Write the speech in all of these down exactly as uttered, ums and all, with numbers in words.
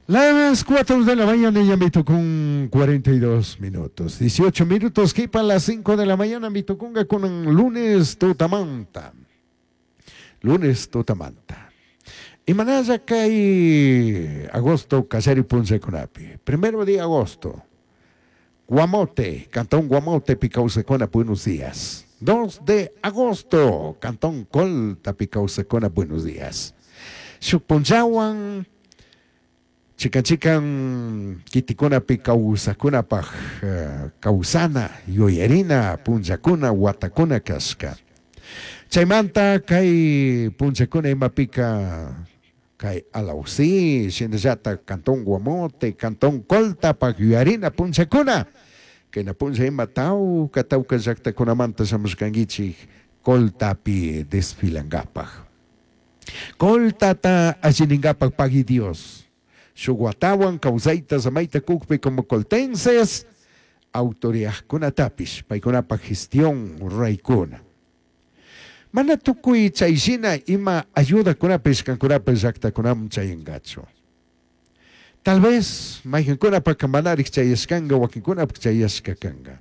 Las cuatro de la mañana ya me tocó un cuarenta y dos minutos. dieciocho minutos que para las cinco de la mañana me tocó con un lunes tutamanta. Lunes tutamanta. Y manaya kai agosto Callari Punchacunapi. Primero de agosto. Guamote, Cantón Guamote, Picausecona, buenos días. dos de agosto, Cantón Colta, Picausecona, buenos días. Xupunchawan, chican chican, kitikuna picausacuna paj, causana, yuyarina, punchacuna, huatacuna kashka. Chaymanta kay punchacuna imapika kay Alausí, shinallata Cantón Guamote, Cantón Colta, paj yuyarina, punchacuna. Kayna puncha ima tawka, tawka llaqtakunamanta shamushkankichik Coltapi desfilankapaj. Coltata allininkapak pagui Dios. Shuk watawan kawsayta samayta kukpi como coltenses, autoridadkunatapish, paykunapaj gestión ruraykuna. Mana tukuy chayshina ima ayudakunapish kankunapish llaqtakunaman chayankachu. Tal vez mayqinkunapaq manarik chayashkanka, wakinkunapaq chayashka kanka.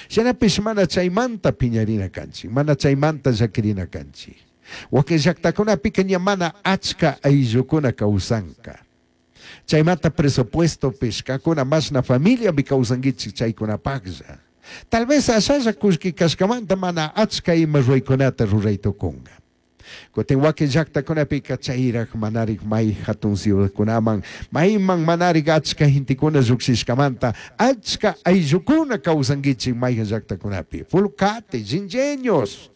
Shinapish mana chaymanta piñarina kanchik, mana chaymanta llakirina kanchik. Wakin llaqtakunapika ña mana achka ayllukuna kawsanka. Chaymanta presupuesto pishkakuna mashna familiapi kawsankichik chaykunapaqlla. Tal vez ashalla kullki kashkamanta mana achka ima ruraykunata ruraytukunka. Kutin wakin llaqtakunapika chayraq manarik may hatun ciudadkunaman, mayman manarik achka gentekuna lluqshishkamanta achka ayllukuna kawsankichik mayhan llaqtakunapi. Fulcate, Jinjeños.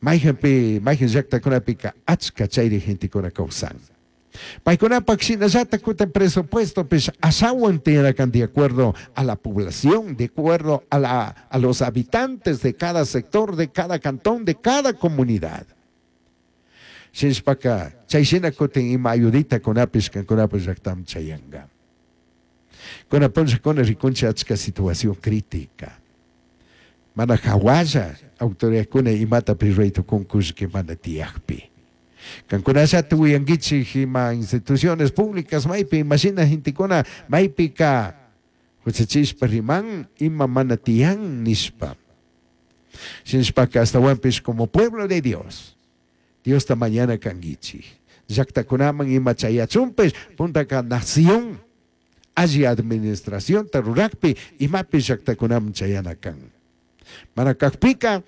Mayhanpi, mayhan llaqtakunapika achka chayri gentekuna kawsan. Paykunapaq shinallata kutin presupuesto pish ashawan tiyarakan de acuerdo a la población, de acuerdo a la, a los habitantes de cada sector, de cada cantón, de cada comunidad. Shinshpaka, chay shina kutin ima ayudita kunapish kankunapish llaqtam chayanka. Kunapuncha kuna rikunchi achka situación crítica. Mana hawalla autoridadkuna imata ruraytukun kullki mana tiyakpi. Kankunallata uyankichik ima instituciones públicas maypi imashina gentekuna maypika huchachishpa riman ima mana tiyan nishpa. Shinshpaka astawanpish como pueblo de Dios, Diosta mañana kankichik. Llaqtakunaman ima chayachunpish puntaka nación alli administración tarurakpi imapi llaqtakunaman chayana kan. Mana kakpika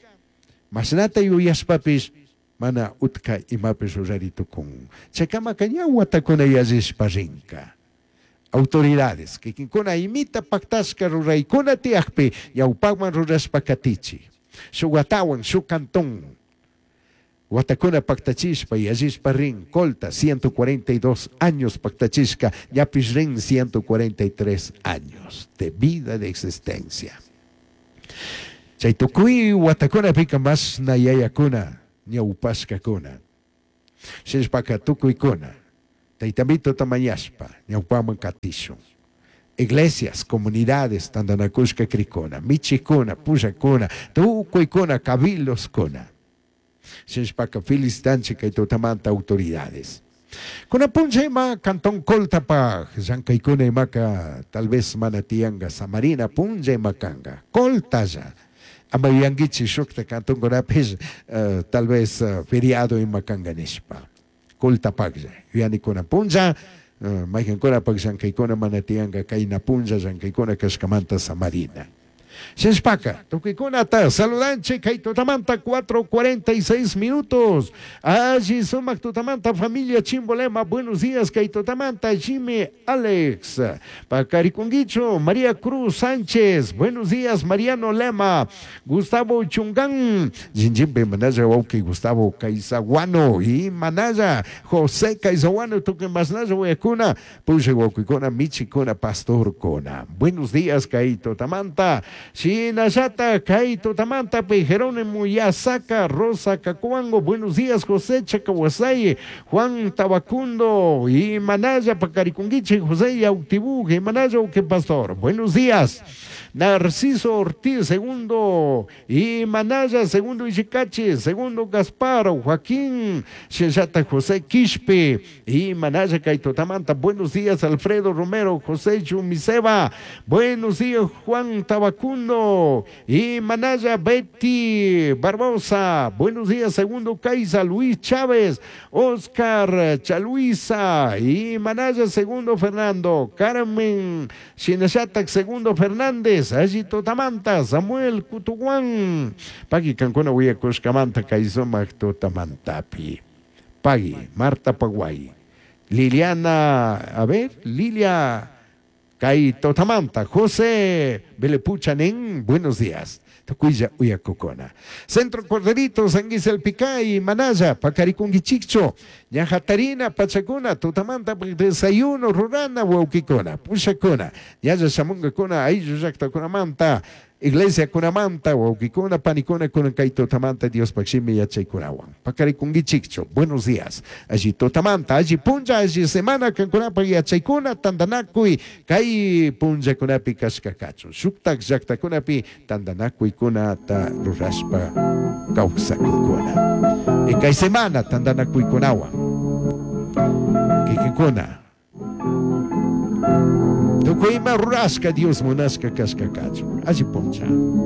mashnata yuyashpapish mana utka imapish ruraritukun. Chaykamaka ña watakuna yallishpa rinka. Autoridades kikinkuna imita paktashka ruraykuna tiyakpi ñawpakman rurashpa katichi. Shuk watawan shuk cantón. Watakuna paktachishpa yallishpa rin Colta ciento cuarenta y dos años paktachishka ñapish rin ciento cuarenta y tres años de vida de existencia. Chay tukuy watakunapika mashna yayakuna ñawpashkakuna. Shinshpaka tukuykuna taytamito tamañashpa ñawpaman katishun. Iglesias, comunidades, tantanakushka krikuna, michikuna, pushakuna, tukuykuna, cabildoskuna. Shinshpaka felicitanchik kay tutamanta autoridades. Kuna puncha ima Cantón Coltapaj, llankaykuna imaka tal vez mana tiyanga Samarina puncha ima kanga, Coltalla. Ama yuyankichik shukta cantonkunapish, uh, tal vez, uh, feriado ima kanga nishpa. Coltapajlla, yuyanikuna puncha, uh, mayqinkunapaq llankaykuna mana tiyanga kayna puncha llankaykuna kashkamanta Samarina. Shinshpaka, tukuykunata saludanchik kay tutamanta cuatro cuarenta y seis minutos. Allí sumak tutamanta familia Chimbolema, buenos días kay tutamanta Jimmy Alex. Pacarikunguicho, María Cruz Sánchez, buenos días Mariano Lema, Gustavo Chungán, Jinjimbe Manaya Wauki, Gustavo Caizaguano y Manaya, José Caizaguano, tuque Masnaya Huayacuna, Puche Wauquicona, Michicona, Pastor Cona. Buenos días kay tutamanta. Shinallata kay tutamantapi Jerónimo Yasaca Rosa Cacuango, buenos días José Chacahuasay, Juan Tabacundo y Manaya Pacarikunguiche, José Yautibú, y Manaya que pastor, buenos días. Narciso Ortiz, segundo, y Manaya, segundo Ichicachi, segundo Gaspar, Joaquín, Shellata José Quispe, y Manaya Kaitotamanta, buenos días Alfredo Romero, José Chumiseba, buenos días Juan Tabacundo, y Manaya Betty Barbosa, buenos días segundo Caiza, Luis Chávez, Oscar Chaluisa, y Manaya segundo Fernando, Carmen Shinashatak segundo Fernández, Allí Totamanta, Samuel Kutuguan, Pagui Cancuna Huyacushkamanta, Kaizomac Totamantapi, Pagui, Marta Paguay, Liliana, a ver, Lilia Kaitotamanta, José Belepuchanen, buenos días. Tukuya Uyakukuna. Centro Corderito, Sanguis el Picay, Manaya, Pacaricunguichicho, Ñajatarina, Pachacuna, Tutamanta, desayuno, Rurana, Huauquicuna, Pushacuna, Yaya Chamungacuna, Ayllu Iglesia Kunamanta, Huauquicuna, Panicuna, Kunankaito Tamanta, Dios Paximi, Yachaykunawan. Pacaricunguichicho, buenos días. Allí Totamanta, allí Punja, allí Semana, Cancunapa, Yachaykuna, Tandanakuy, Kai Punja Kunapi, Kashkakacho, Shuktak, Yaktakunapi, Tandanakuy, Kunata, Rurashpa, Kawsakukuna. Y kay semana, Tandanakuy Kunawan. Kikikuna. Tukuyma rurashka Dios munashka kashkakacho. Allí puncha.